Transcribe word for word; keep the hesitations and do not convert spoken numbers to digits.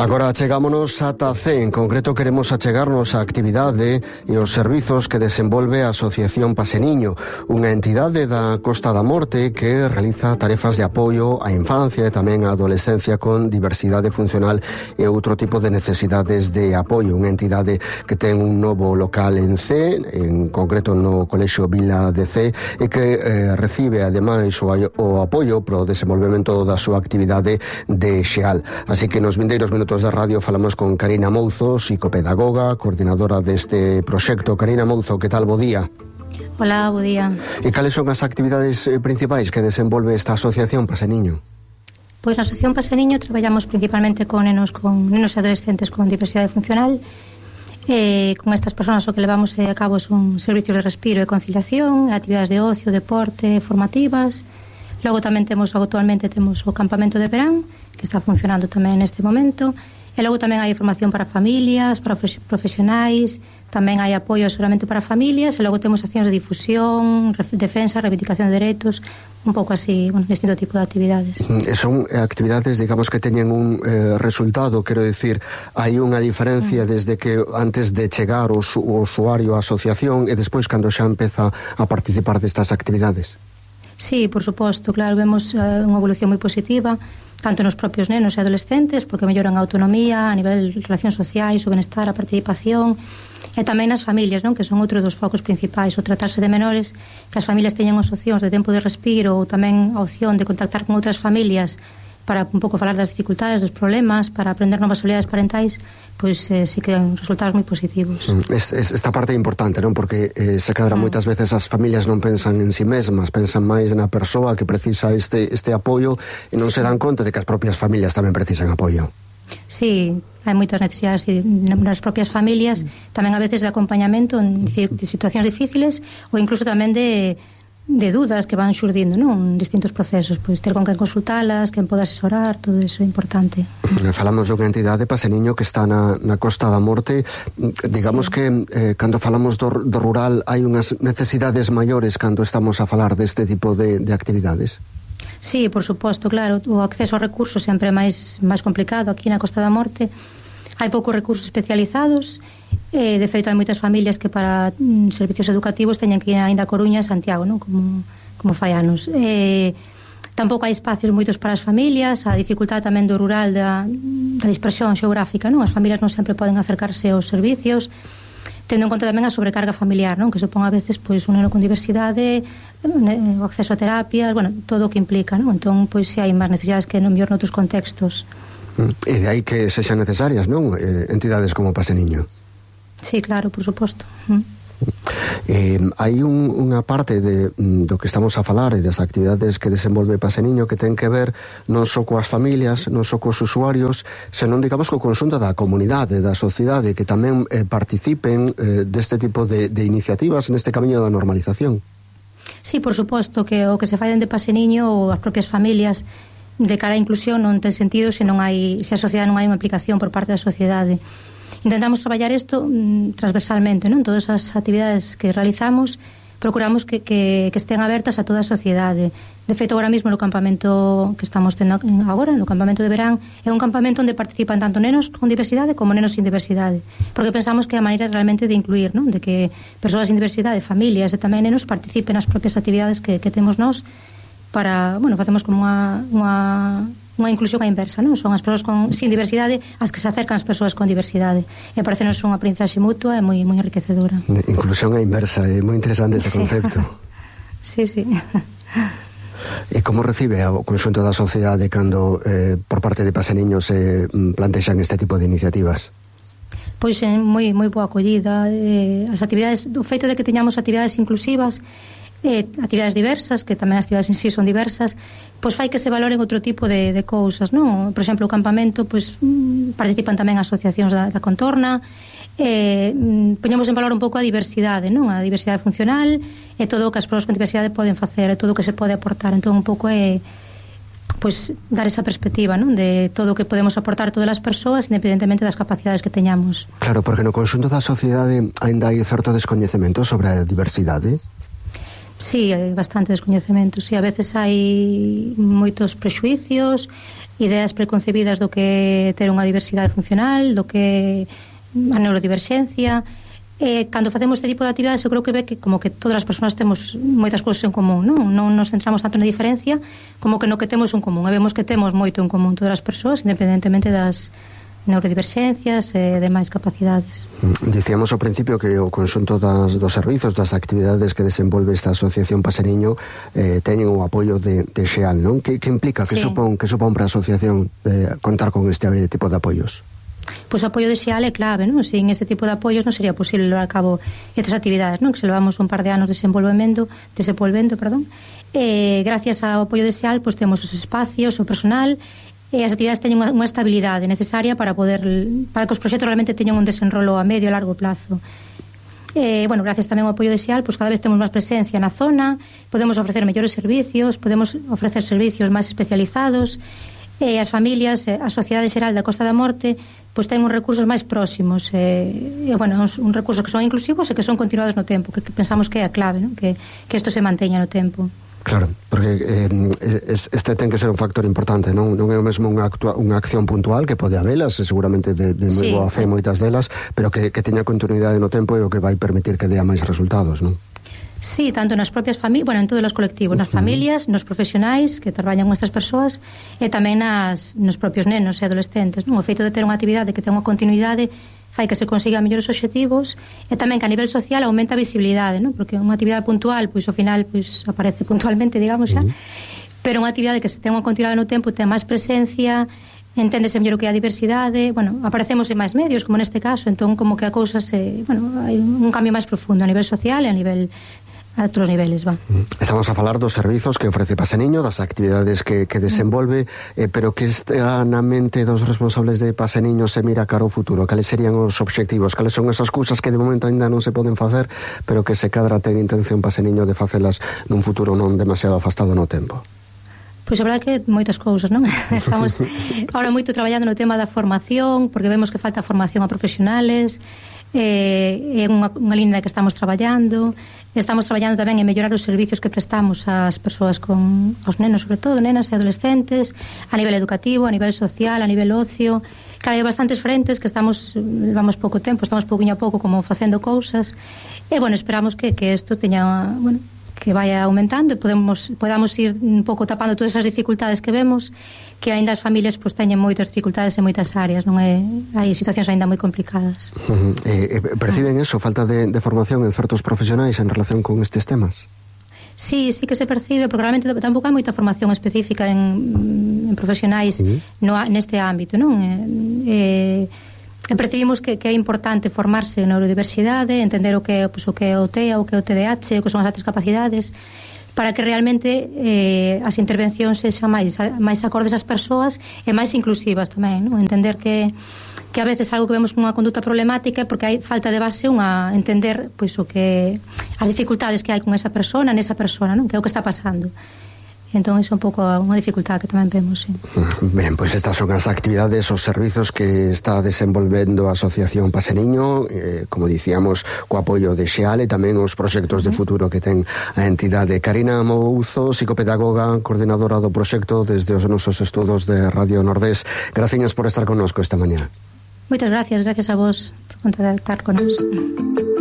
Agora achegámonos ata C, en concreto queremos achegarnos a actividade e os servizos que desenvolve a Asociación Paseniño, unha entidade da Costa da Morte que realiza tarefas de apoio á infancia e tamén á adolescencia con diversidade funcional e outro tipo de necesidades de apoio. Unha entidade que ten un novo local en C, en concreto no Colexio Vila de C, e que eh, recibe ademais o, o apoio pro desenvolvemento da súa actividade de Xeal. Así que nos vindeiros minutos de radio falamos con Karina Mouzo, psicopedagoga, coordinadora deste proxecto. Karina Mouzo, que tal? Bo día. Hola, bo día. E cales son as actividades principais que desenvolve esta asociación Paseniño? Pois na asociación Paseniño traballamos principalmente con nenos, con nenos e adolescentes con diversidade funcional. Eh, con estas persoas o que levamos a cabo son servicios de respiro e conciliación, actividades de ocio, deporte, formativas. Logo tamén temos, actualmente temos o campamento de verán, que está funcionando tamén neste momento, e logo tamén hai formación para familias, para profesionais, tamén hai apoio e asesoramento para familias, e logo temos accións de difusión, defensa, reivindicación de dereitos, un pouco así, un distinto tipo de actividades. E son actividades, digamos, que teñen un eh, resultado, quero dicir, hai unha diferencia mm. desde que antes de chegar o, o usuario á asociación e despois cando xa empeza a participar destas actividades. Sí, por suposto, claro, vemos uh, unha evolución moi positiva, tanto nos propios nenos e adolescentes, porque melloran a autonomía, a nivel de relacións sociais, o benestar, a participación, e tamén nas familias, non? Que son outro dos focos principais, o tratarse de menores, que as familias teñan as opcións de tempo de respiro ou tamén a opción de contactar con outras familias para un pouco falar das dificultades, dos problemas, para aprender novas habilidades parentais, pois eh, sí que hai resultados moi positivos. Es, es, esta parte é importante, non? Porque eh, se cadra ah. moitas veces as familias non pensan en si mesmas, pensan máis na persoa que precisa este, este apoio e non sí. se dan conta de que as propias familias tamén precisan apoio. Sí, hai moitas necesidades nas propias familias, mm. tamén a veces de acompañamento en situacións difíciles ou incluso tamén de de dudas que van xurdindo, non? Distintos procesos, pois ter con quen consultalas, quen poda asesorar, todo iso é importante. Falamos dunha entidade, Paseniño, que está na, na Costa da Morte. Digamos sí. que eh, cando falamos do, do rural hai unhas necesidades maiores cando estamos a falar deste tipo de, de actividades. Sí, por suposto, claro, o acceso aos recursos sempre é máis, máis complicado aquí na Costa da Morte. Hai poucos recursos especializados. Eh, de feito, hai moitas familias que para mm, servicios educativos teñen que ir ainda a Coruña e Santiago, non? Como, como fai anos. Eh, tampouco hai espacios moitos para as familias, a dificultade tamén do rural da, da dispersión xeográfica, non? As familias non sempre poden acercarse aos servicios, tendo en conta tamén a sobrecarga familiar, non? Que supón a veces pois un neno con diversidade, o acceso a terapias, bueno, todo o que implica, non? Entón, pois se hai máis necesidades que non mellor noutros contextos. E de aí que sexan necesarias, non? Eh, entidades como Paseniño. Sí, claro, por suposto. Mm. Eh, hai un, unha parte de, do que estamos a falar e das actividades que desenvolve Paseniño que ten que ver non só coas familias, non só cos usuarios, senón, digamos, co conxunto da comunidade, da sociedade, que tamén eh, participen eh, deste tipo de, de iniciativas neste camiño da normalización. Sí, por suposto, que o que se fai dende Paseniño ou as propias familias de cara á inclusión non ten sentido se non hai, se a sociedade non hai unha implicación por parte da sociedade. Intentamos traballar isto mm, transversalmente, non? Todas as actividades que realizamos procuramos que, que, que estén abertas a toda a sociedade. De feito, agora mesmo no campamento que estamos tendo agora, no campamento de verán, é un campamento onde participan tanto nenos con diversidade como nenos sin diversidade, porque pensamos que é a maneira realmente de incluir, non? De que persoas sin diversidade, familias e tamén nenos participen nas propias actividades que, que temos nós para, bueno, facemos como unha, unha unha inclusión á inversa, non? Son as persoas con, sin diversidade as que se acercan as persoas con diversidade. E parecenos unha aprendizaxe mutua e moi, moi enriquecedora. Inclusión á inversa, é moi interesante ese sí. concepto. Sí, sí. E como recibe o conxunto da sociedade cando eh, por parte de Paseniño se plantexan este tipo de iniciativas? Pois é moi, moi boa acollida. Eh, as actividades, o feito de que teñamos actividades inclusivas, eh, actividades diversas, que tamén as actividades en sí son diversas, pois fai que se valoren outro tipo de, de cousas, non? Por exemplo, o campamento, pois participan tamén asociacións da, da contorna, eh, poñemos en valor un pouco a diversidade, non? A diversidade funcional e todo o que as persoas con diversidade poden facer, e todo o que se pode aportar. Entón, un pouco é pois dar esa perspectiva, non? De todo o que podemos aportar todas as persoas independentemente das capacidades que teñamos. Claro, porque no conxunto da sociedade ainda hai certo descoñecemento sobre a diversidade. Sí, hai bastante descoñecemento. Sí, a veces hai moitos prexuicios, ideas preconcebidas do que ter unha diversidade funcional, do que a neurodiverxencia. Eh, cando facemos este tipo de actividades, eu creo que ve que como que todas as persoas temos moitas cousas en común, non? Non nos centramos tanto na diferencia como que no que temos en común. E vemos que temos moito en común todas as persoas, independentemente das neurodiverxencias e demais capacidades. Dicíamos ao principio que o conxunto das, dos servizos, das actividades que desenvolve esta Asociación Paseniño eh, teñen o apoio de, de Xeal, non? Que, que implica, que, sí. supón, que supón para a asociación eh, contar con este tipo de apoios? Pois o apoio de Xeal é clave, non? Sin este tipo de apoios non sería posible levar a cabo estas actividades, non? Que se levamos un par de anos desenvolvendo, desenvolvendo, perdón. Eh, gracias ao apoio de Xeal, pois temos os espacios, o personal, e as actividades teñen unha, unha estabilidade necesaria para poder para que os proxectos realmente teñan un desenrolo a medio e largo plazo. Eh, bueno, gracias tamén ao apoio de Xeal, pois cada vez temos máis presencia na zona, podemos ofrecer mellores servicios, podemos ofrecer servicios máis especializados, e as familias, a sociedade xeral da Costa da Morte, pois ten uns recursos máis próximos, e, e bueno, uns, uns recursos que son inclusivos e que son continuados no tempo, que, que pensamos que é a clave, non? Que, que isto se manteña no tempo. Claro, porque eh, este ten que ser un factor importante, non non é o mesmo unha, actua, unha acción puntual que pode habelas, seguramente de, de moi sí, boa fe moitas delas, pero que, que teña continuidade no tempo e o que vai permitir que dea máis resultados, non? Sí, tanto nas propias familias, bueno, en todos os colectivos, nas familias, nos profesionais que traballan con estas persoas e tamén nas, nos propios nenos e adolescentes, non? O feito de ter unha actividade que ten unha continuidade fai que se consiga mellores obxectivos e tamén que a nivel social aumenta a visibilidade, non? Porque unha actividade puntual, pois ao final pois aparece puntualmente, digamos xa, uh-huh. pero unha actividade que se ten unha continuidade no tempo ten máis presencia, enténdese mellor o que é a diversidade, bueno, aparecemos en máis medios, como neste caso, entón como que a cousa se, bueno, hai un cambio máis profundo a nivel social e a nivel a outros niveles, va. Estamos a falar dos servizos que ofrece Paseniño, das actividades que, que desenvolve, eh, pero que está na mente dos responsables de Paseniño se mira cara ao futuro. Cales serían os obxectivos? Cales son esas cousas que de momento ainda non se poden facer, pero que se cadra ten intención Paseniño de facelas nun futuro non demasiado afastado no tempo? Pois a verdade que moitas cousas, non? Estamos ahora moito traballando no tema da formación, porque vemos que falta formación a profesionales, eh, é unha, unha línea que estamos traballando. Estamos traballando tamén en mellorar os servicios que prestamos ás persoas con aos nenos, sobre todo, nenas e adolescentes, a nivel educativo, a nivel social, a nivel ocio. Claro, hai bastantes frentes que estamos, levamos pouco tempo, estamos pouquinho a pouco como facendo cousas. E, bueno, esperamos que, que isto teña, bueno, que vaya aumentando e podemos, podamos ir un pouco tapando todas esas dificultades que vemos, que aínda as familias pois teñen moitas dificultades en moitas áreas, non é? Hai situacións aínda moi complicadas. Uh-huh. eh, perciben eso, falta de, de formación en certos profesionais en relación con estes temas? Sí, sí que se percibe, porque realmente tampouco hai moita formación específica en, en profesionais uh-huh. no, neste ámbito, non? Eh, eh, percibimos que, que é importante formarse en neurodiversidade, entender o que, pues, o que é o T E A, o que é o T D A H, o que son as altas capacidades, para que realmente eh, as intervencións sexan máis, máis acordes ás persoas e máis inclusivas tamén, non? Entender que, que a veces algo que vemos como unha conduta problemática porque hai falta de base unha entender pois o que as dificultades que hai con esa persona, nesa persona, non? Que é o que está pasando. Entón, é un pouco unha dificultade que tamén vemos, sí. Ben, pois estas son as actividades, os servizos que está desenvolvendo a Asociación Paseniño, eh, como dicíamos, co apoio de Xeal e tamén os proxectos de futuro que ten a entidade. Karina Mouzo, psicopedagoga, coordinadora do proxecto desde os nosos estudos de Radio Nordés. Gracias por estar connosco esta mañá. Moitas gracias, gracias a vos por contactar con nós.